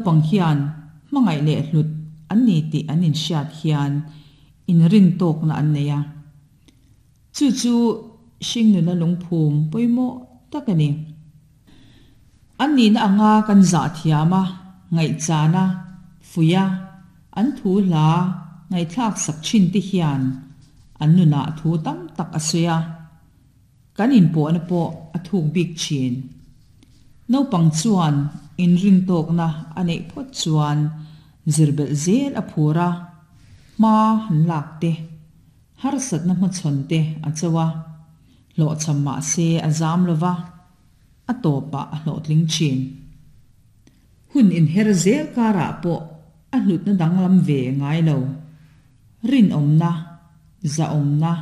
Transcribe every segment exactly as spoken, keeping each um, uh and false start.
Naupang hian hmangaih leh hlut an ni tih an inhriat hian inrintawkna an nei a. Chu chu hringnuna lungphum pawimawh tak a ni. An nihna anga kan zah thiam a, ngaihchan a, fuih a, an thu hla ngaihthlak sak thin te hian an nunah thu tam tak a sawi a, kan inpawhna pawh a thuk bik thin. Naupang chuan inrintawkna a neih phawt chuan zirbelh zel a phur a, hma han lak te, harsatna hmachhawn te a cho a, hlawhchham mahse a zam lova, a tawpah a hlawhtling thin. Hun inher zel karah pawh a hlutna danglam ve ngai lo. Rinawmna, zahawmna,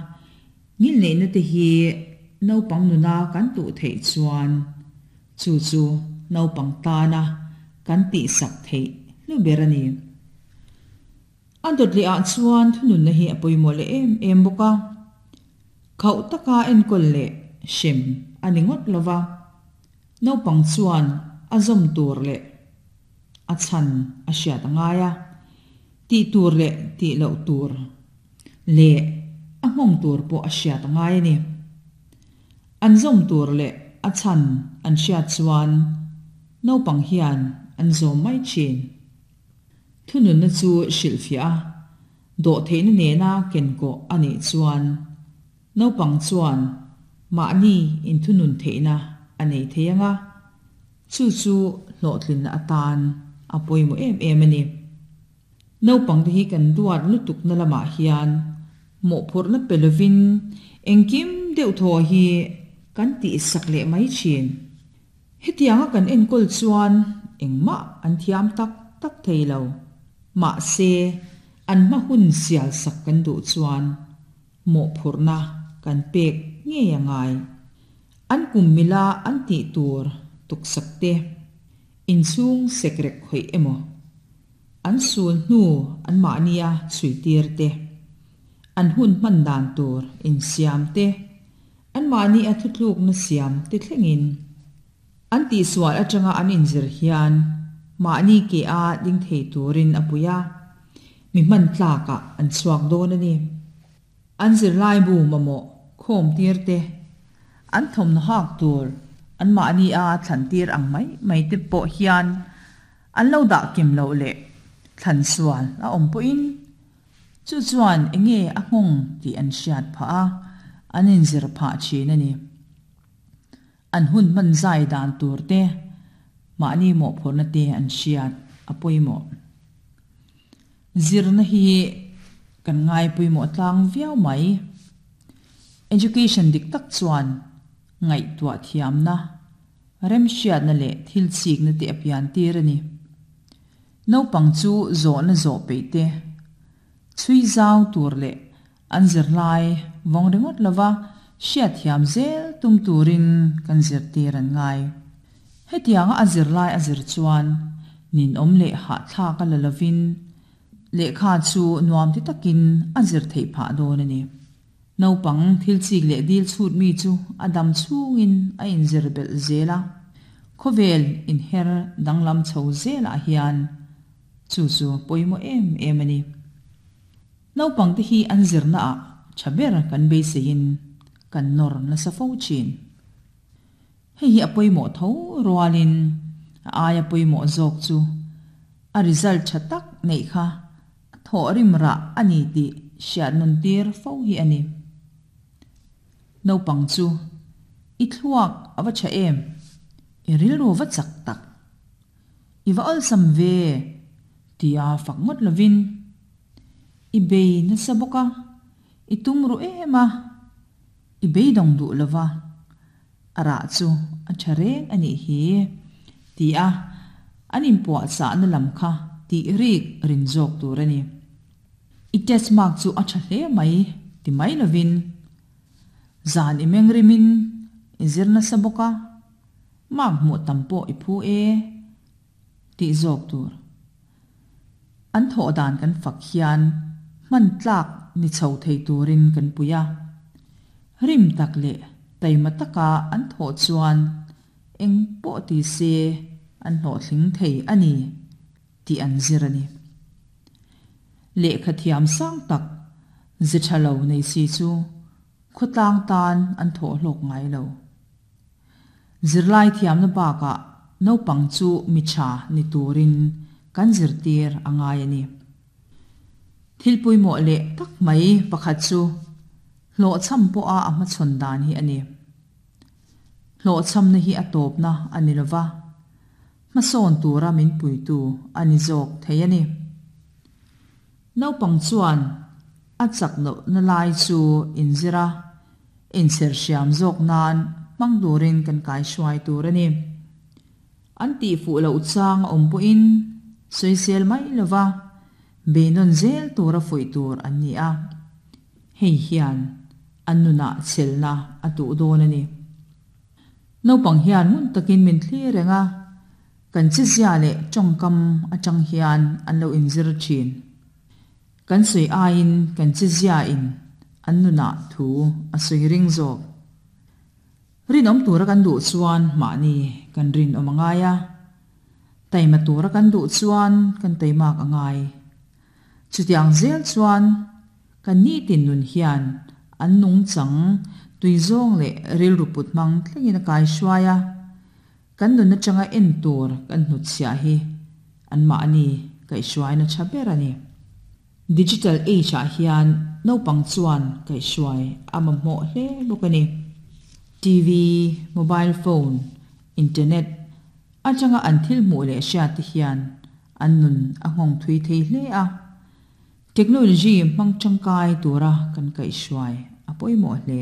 ngilneihna te hi naupang nuna kan tuh theih chuan chu chu naupang tana kan tihsak theih hlu ber a ni. A dawt leh ah chuan thununna hi a pawimawh leh em em bawk a. Khauh taka enkawl leh hrem a ni ngawt lova, naupang chuan a zawm tur leh a chhan a hriat a ngai a, tih tur leh tih loh tur leh a nghawng tur pawh a hriat a ngai a ni. An zawm tur leh a chhan an hriat chuan naupang hian an zawm mai thin. Thununna chu hrilhfiah a, dawhtheihna nena kenkawh a nih chuan naupang chuan mahni inthunun theihna a nei thei ang a, chu chu hlawhtlinna atan a pawimawh em em a ni. Naupangte hi kan duat lutukna lamah hian mawhphurhna pe lovin engkim deuh thaw hi kan tihsak leh mai thin. Hetianga kan enkawl chuan engmah an thiam tak tak thei lo. Mahse, an hma hun sial sak kan duh chuan mawhphurhna kan pek ngei a ngai. An kum mila an tih tur tuksak te, inchhung sekrek khawih emaw, an sul hnu an mahnia chhui tir te, an hun hman dan tur insiam te, an mahni a thutlukna siam te thlengin. An tihsual atanga an inzir hian mahni ke a ding thei turin a pui a, mi hman tlakah an chhuak dawn a ni. An zirlaibu mamawh khawm tir te, an thawmhnaw hak tur an mahni a thlan tir ang mai mai te pawh hian an lo dah kim loh leh thlan sual a awm pawhin chu chuan enge a nghawng tih an hriat phah a, an inzir phah thin a ni. An hun hman zai dan tur te, mahni mawhphurhna te an hriat a pawimawh. Zirna hi kan ngai pawimawh tlang viau mai. Education dik tak chuan ngaihtuah thiamna, remhriatna leh thil chikna te a pian tir a ni. Naupang chu zawhna zawh peih te, chhui zau tur leh an zirlai vawng ringawt lova hriat thiam zel tum turin kan zirtir an ngai. Hetianga a zirlai a zir chuan ninawm leh hahthlak a la lovin lehkha chu nuam ti takin a zir theih phah dawn a ni. Naupang thil chik leh dil chhut mi chu a dam chhungin a inzir belh zel a, khawvel inher danglam chho zelah hian chu chu pawimawh em em a ni. Naupangte hi an zirnaah tha ber kan beiseiin kan nawr nasa fo thin. Hei hi a pawimawh tho rualin a aia pawimawh zawk chu a result tha tak neih kha a thawh rim rah a ni tih hriat nun tir fo hi a ni. Naupang chu i thluak a va tha em, i rilru va chak tak, i va awlsam ve tia fak ngawt lovin i bei nasa bawk a, i tum ru em a, i beidawng duh lova, a rah chu a tha reng a nih hi tia an inpuahchahna lam kha tih rik rin zawk tur a ni. I test mark chu a tha hle mai ti mai lovin zan i meng rimin i zir nasa bawk a, mark hmuh tam pawh i phu e tih zawk tur. An thawh dan kan fak hian hman tlak ni chho thei turin kan pui a. Rim tak leh taima taka an thawh chuan eng pawh ti se an hlawhtling thei a ni. tih an zir a ni. Lehkha thiam sang tak ze tha lo nei si chu khawtlang tan an thawh hlawk ngai lo. Zirlai thiamna bakah naupang chu mi tha ni turin kan zirtir a ngai a ni. Thil pawimawh leh tak mai pakhat chu hlawhchham pawha a hmachhawn dan hi a ni. Hlawhchhamna hi a tawpna a ni lova, hmasawn tura min puitu a ni zawk thei a ni. Naupang chuan a chak lohna lai chu inzir a, inchherhriam zawk nan hmang turin kan kaihruai tur a ni. An tihfuh loh chang a awm pawhin sawisel mai lova, beinawn zel tura fuih tur an ni a. Hei hian an nunah chhelna a tuh dawn a ni. Naupang hian ngun takin min thlir reng a, kan chizia leh tawngkam atang hian an lo inzir thin. Kan sawi aiin kan chizia in an nunah thu a sawi ring zawk. Rinawm tura kan duh chuan mahni kan rinawm a ngai a, taima tura kan duh chuan kan taimak a ngai. Chutiang zel chuan kan nitin nun hian an nungchang tui zawng leh rilru put hmang thlengin a kaihruai a, kan nun atanga en tur kan hnutchhiah hi an mahni kaihhruaina tha ber a ni. Digital age ah hian naupang chuan kaihhruai a mamawh hle bawk a ni. T V, mobile phone, internet atanga an thil hmuh leh hriat te hian an nun a nghawng thui thei hle a. Technology hmang tangkai tura kan kaihhruai a pawimawh hle.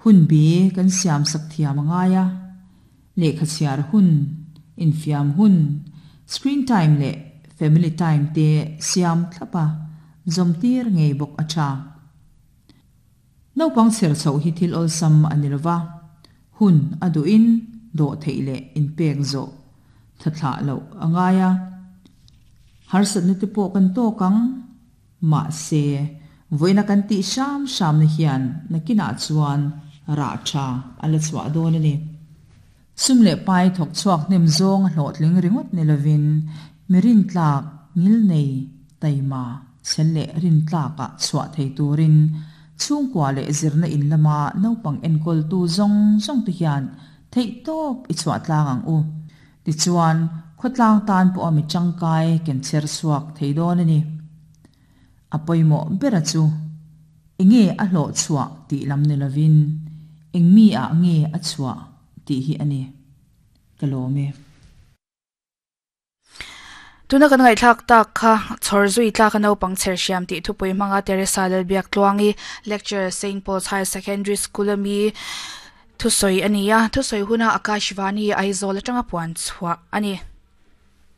Hun bi kan siam sak thiam a ngai a, lehkha chhiar hun, infiam hun, screen time leh family time te siam thlap a, zawmtir ngei bawk a tha. Naupang chher chhoh hi thil awlsam a ni lova, hun a duhin dawh theih leh inpek zawh thathlah loh a ngai a. Harsatna te pawh kan tawk ang, mahse vawiina kan tih hram hramna hian nakinah chuan rah tha a la chhuah dawn a ni. Sum leh pai thawk chhuak hnem zawng a hlawhtling ringawt ni lovin mi rintlak ngil nei taima chhel leh rintlakah chhuah thei turin chhungkua leh zirna in lama naupang enkawltu zawng zawng te hian theih tawp i chhuah tlang ang u. Tichuan khawtlang tan pawha mi tangkai ken chher chhuak thei dawn a ni. A pawimawh ber a chu enge a hlawh chhuah tih lam ni lovin eng mi ah nge a chhuah tih hi a ni. Ka lawm e. Tuna kan ngaihthlak tak kha chhawr zui tlak a naupang chherhriam tih thupui hmanga Teresa Lalbiaktluangi lecturer Saint Paul's Higher Secondary School ami thusawi a ni a, thusawi huna Akashvani Aizawl atanga puan chhuah a ni.